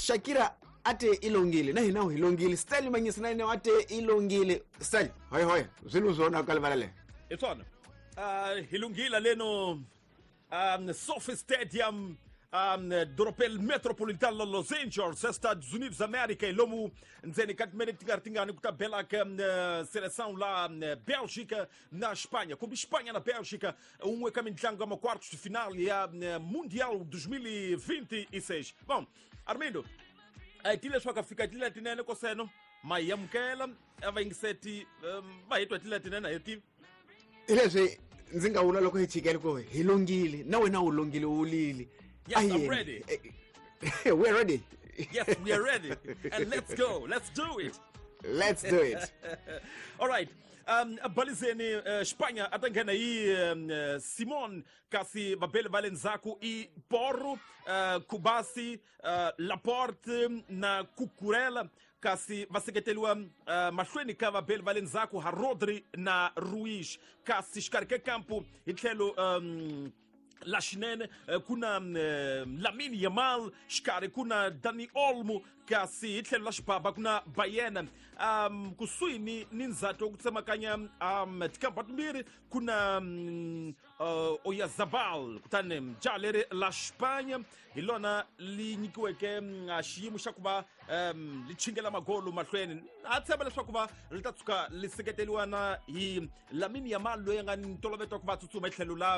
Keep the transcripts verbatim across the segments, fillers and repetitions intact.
Shakira ate ilongile na hina hilongile Stanley Manyisa na yena ate ilongile Stanley hoy hoy zwilu zona ka livalale etswana uh hilungile leno um SoFi Stadium um Doropel Metropolitan la Los Angeles, Estados Unidos da América, lomu ndzeni ka timene ti nga ri tingani ku ta bela ka seleção lá Bélgica na Espanha, como Espanha na Bélgica, un'we ka mintlangu ya ma-quartos de final ya Mundial dois mil e vinte e seis. Bom, Armindo, a hi leswaku a fika tindlela tinene koseno ma hi amukela a va yingiseti va hi twa tindlela tinene a hi tivi hi leswi ndzi nga vula loko hi chikele ku hi longile na wena u longile u wulile. Yes, I'm ready. We're ready. Yes, we are ready. And let's go. Let's do it. Let's do it. All right. Um, balizeni uh, Espanha a ta nghena hi um, Simon kasi vabeli va le ndzhaku i Porro, uh, Kubasi, uh, Laporte na Cucurella kasi va seketeriwa uh, mahlweni ka vabeli va le ndzhaku ha Rodri na Ruiz kasi xikarhi ka kampo hi tlhelo um, la xinene kuna Lamine Yamal xikarhi kuna Dani Olmo kasi hi tlhelo la xibaba kuna Bayena um kusuhi ni ni ndzhato ku tsemakanya um tikampa timbirhi kuna um, uh, Oyarzabal kutani jaha leri la Espanha hi lona li nyikiweke xiyimo xa ku va um li chingela magolo mahlweni a tshemba leswaku va ri ta tshuka li seketeriwa na hi Lamine Yamal loyi a nga ni ntolovelo wa ku va tsutsuma hi tlhelo la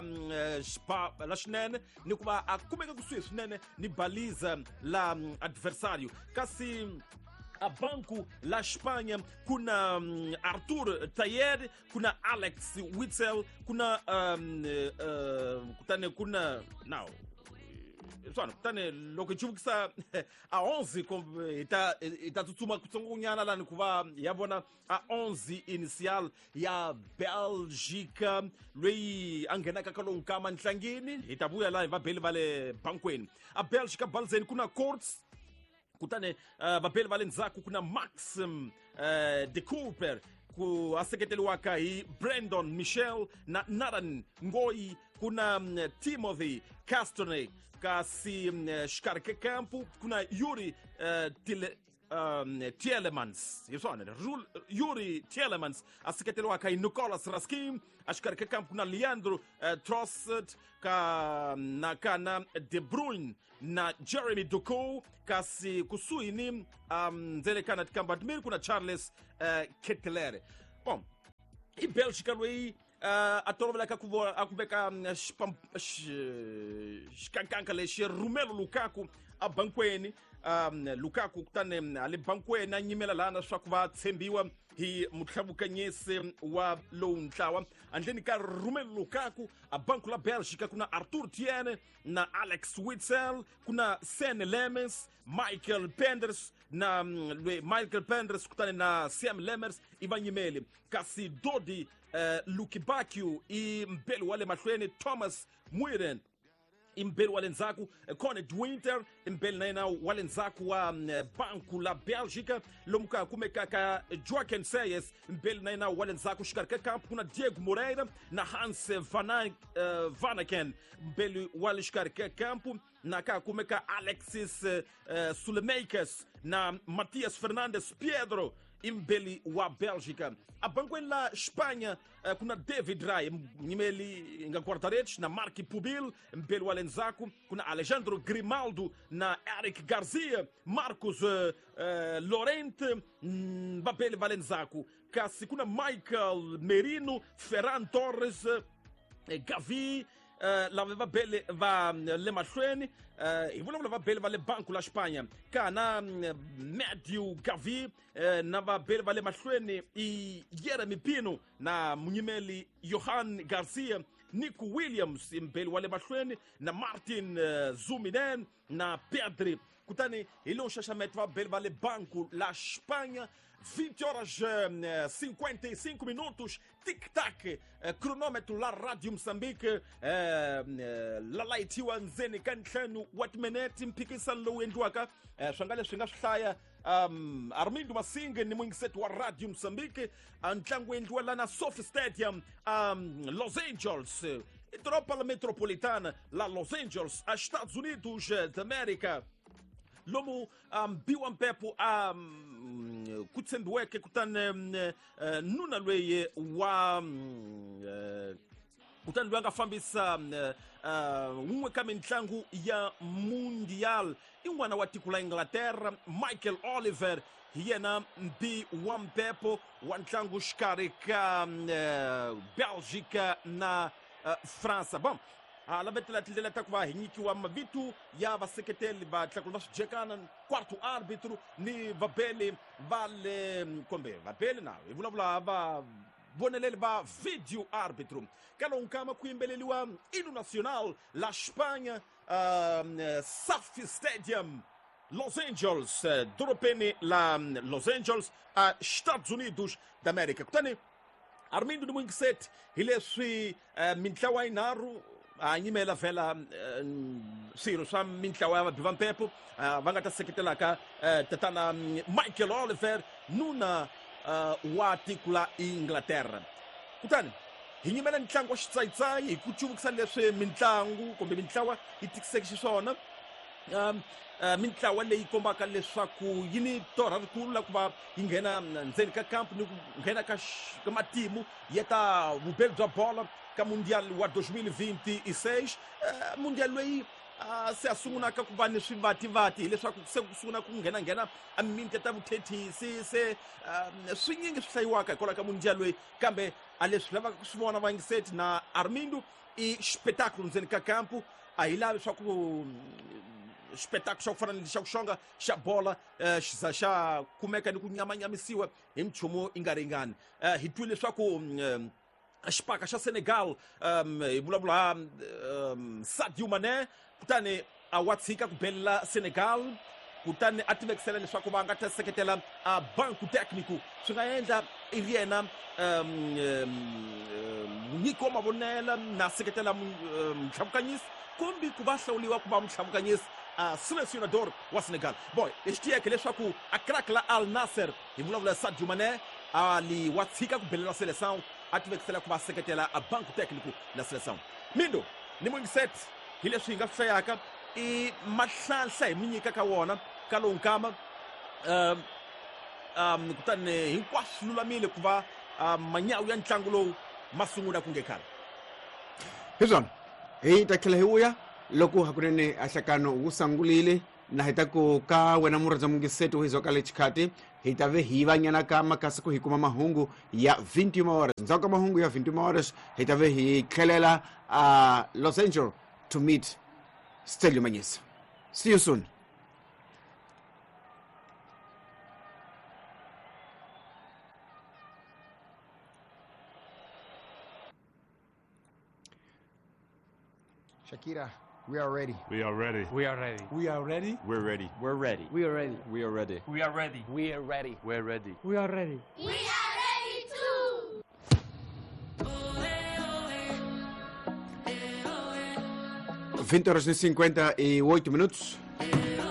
xiba la xinene ni ku va a kumeka kusuhi swinene ni baliza la adversário kasi a banco la Espanha kuna um, Arthur Tayer kuna Alex Witzel kuna um, uh, kutani kuna now swona kutani loko hi chuvukisa a onze hi ta hi ta tsutsuma kutsongonyana lani ku va ya vona a onze initial ya Bélgica loyi a nghenaka ka lowu nkama ntlangini hi ta vuya laha hi vabeli va le bankweni a Bélgica balzeni kuna Courts kutani uh, vabeli va le ndzhaku kuna Max um, uh, de Cooper ku a seketeriwaka hi Brandon Michel na Nathan Ngoyi kuna um, Timothy Castone kasi um, xikarhi ka kampo kuna Yuri uh, Tile um, Tielemans hi swona Yuri Tielemans a seketeriwaka hi Nicolas Raskin a xikarhi ka kampo kuna Leandro uh, Trossard ka na kana De Bruyne na Jeremy Doku kasi kusuhi ni um, ndzele kana tikamba timbirhi kuna Charles uh, Ketelere. Bom, i Bélgica loyi uh, a tolovelaka ku a ku veka xikankanka lexi Romelu Lukaku a bankweni um, Lukaku kutani a le bankweni a nyimela laha leswaku va tshembiwa hi mutlhavukanyisi wa lowu ntlawa handleni ka Romelu Lukaku a banku la Bélgica kuna Arthur Tiene na Alex Witzel kuna Sen Lemens Michael Penders na Michael Penders kutani na Sam Lemers i vanyimeli kasi Dodi uh, Lukibakio i mbeli wa le mahlweni Thomas Muiren imbeli wa le ndzhaku Coned Winter imbeli na yena wa le ndzhaku wa banku la Bélgica lomu ka kumekaka Joaquin Seyes mbeli na yena wa le ndzhaku xikarhi ka kampo kuna Diego Moreira na Hans Van uh, Vanaken mbeli wa le xikarhi ka kampo na ka kumeka Alexis uh, Sulemakers na Matias Fernandes Pedro imbeli wa Bélgica. A bankweni la Espanha uh, kuna David Ray nyimeli nga guarda-redes na Marc Pubil mbeli wa le ndzhaku kuna Alejandro Grimaldo na Eric Garcia Marcos uh, uh, Lorente vabeli va le ndzhaku kasi kuna Michael Merino Ferran Torres uh, Gavi Uh, lava va bele va le mahlweni uh, hi vulavula va bele va le banku la Espanha kana Matthew Gavi uh, na va bele va le mahlweni i Jeremy Pino na munyimeli Johan Garcia Nico Williams mbeli wa le mahlweni na Martin uh, Zuminen na Pedri kutani hi lowu nxaxameto va bele va le banku la Espanha. Vinte horas cinquenta e cinco minutos, tic-tac, cronômetro la Rádio Moçambique, la layitiwa ndzeni ka ntlhanu wa timinete mphikisano lowu endliwaka swi nga leswi nga swi hlaya um, Armindo Masinga ni muyingiseti wa Radio Moçambique, ntlangu endliwa la na SoFi Stadium, um, Los Angeles, doroba la metropolitana la Los Angeles, a Estados Unidos da América. Lomu mbiwa um, mpepo a um, ku tshembiweke kutani um, uh, nuna loyi wa um, uh, kutani loyi a nga fambisa wun'we uh, ka mitlangu ya Mundial i n'wana wa tiko la Inglaterra Michael Oliver hi yena mbi wa mpepo wa ntlangu xikarhi ka uh, Belgica na uh, Fransa. Bon, a lavetela tindlela ta ku va hi nyikiwa mavito ya vaseketeli va tlakulu va swijekana quarto árbitro ni vabeli va le kumbe vabeli na hi vulavula va voneleli va video árbitro. Ka lowu nkama ku yimbeleliwa hino nacional la Espanha, uh, SoFi Stadium, Los Angeles, dorobeni la Los Angeles, a Estados Unidos da América. Kutani Armindo de Muinguisete hi leswi uh, mintlawa yinharhu a nyimela vhela swirho swa mintlawa ya vabi va mpepo va nga ta seketelaka tatana Michael Oliver nuna wa tiko la Inglaterra. Kutani hi nyimela ntlangu wa xitsayitsayi hi ku cuvukisa leswi mintlangu kumbe mintlawa yi tikiseke xiswona. Um, uh, mintlawa leyi kombaka leswaku yi ni torha rikulu la ku va yi nghena ndzeni ka kampu ni ku nghena ka ka matimu ya ta vubeli bya bola ka Mundial wa dois mil e vinte e seis. Uh, Mundial loyi uh, se a sungulaka ku va ni swivativati hileswaku se ku sungula ku nghenanghena a mimiti ta vuthethisi se uh, swinyingi swi hlayiwaka hikwalaho ka Mundial loyi, kambe a leswi lavaka ku swi vona vayingiseti na Armindo i xipetakulu ndzeni ka kampu. A hi lavi swa ku xipetakulu xa ku fana ni xa ku xonga xa bola xi za xa kumeka ni ku nyamanyamisiwa hi minchumu yi nga ringani. Hi twile leswaku xipaka xa Senegal, um, hi vulavula um, Sadio Mané, kutani a wa tshika ku belela Senegal, kutani a tivekisela leswaku va nga ta seketela a banco técnico. Swi nga endla i ri yena um, munyiki wa mavonela na seketela mutlhavukanyisi kumbe ku va hlawuriwa ku va mutlhavukanyisi a selecionador wa Senegal. Boy, lexi tiyeke leswaku a crack la Al Nassr, hi vulavula Sadio Mané, a li wa tshika ku belela seleção a tivekisela ku va seketela a banco técnico la seleção. Mindo ni Muinguisete hi leswi hi nga swi hlayaka i mahlanhla hi mi nyika ka wona ka lowu nkama. um, um, kutani hinkwaswo swi lulamile ku va uh, manyawu ya ntlangu lowu ma sungula ku nge khale. Hi swona hi ta tlhela hi vuya loko hakunene a hlakano wu sangulile na hi ta ku ka wena murhandza mungiseti wo hi ka le xikhati hi ta ve hi va nyana ka makasi ku hi kuma mahungu ya vinte e uma horas. Ndzhaku ka mahungu ya vinte e uma horas hi ta ve hi tlhelela a Los Angeles to meet Stelio Manyisa. See you soon. Shakira, we are ready. We are ready. We are ready. We are ready. We're ready. We're ready. We are ready. We are ready. We are ready. We are ready. We're ready. We are ready. We are ready too. vinte horas e cinquenta e oito minutos.